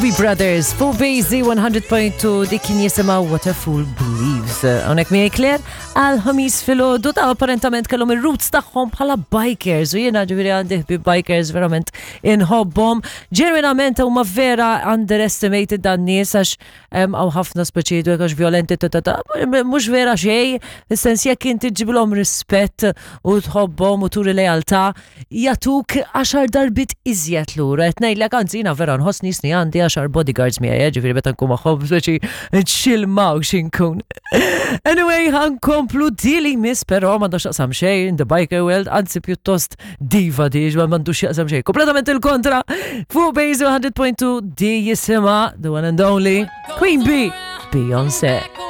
Doobie Brothers fuq Bazy 100.2 dik kien jisimha What a Fool Believes. Hawnhekk miegħi Claire għal ħamis filgħodu ta' apparentament kellhom ir-roots tagħhom bħala bikers u jiena ġifieri għandi ħbieb bikers verament inħobbhom. Ġenwinament huma vera underestimated dan nies għax Hawn ħafna speċi jgħidu għax violenti ta ta ta mhux vera xejn, fis-sens jekk inti ġibilhom rispett u tħobbhom u turi lealtà, jagħtuk għaxar darbit iżjed lura. Qed ngħidlek anzi jiena vera nħossni jisni għandi għaxar bodyguards miegħi, eh, ġifieri meta nkun magħhom speċi nxilmaw xinkun. Anyway, ħankomplu dili miss però m'għandux x'taqsam xejn in the biker world, anzi pjuttost Diva di, ma m'għandux jaqsam xejn. Kompletament il-kontra. Fuq Base 100.2 di jisima the one and only Queen Bee, Beyoncé.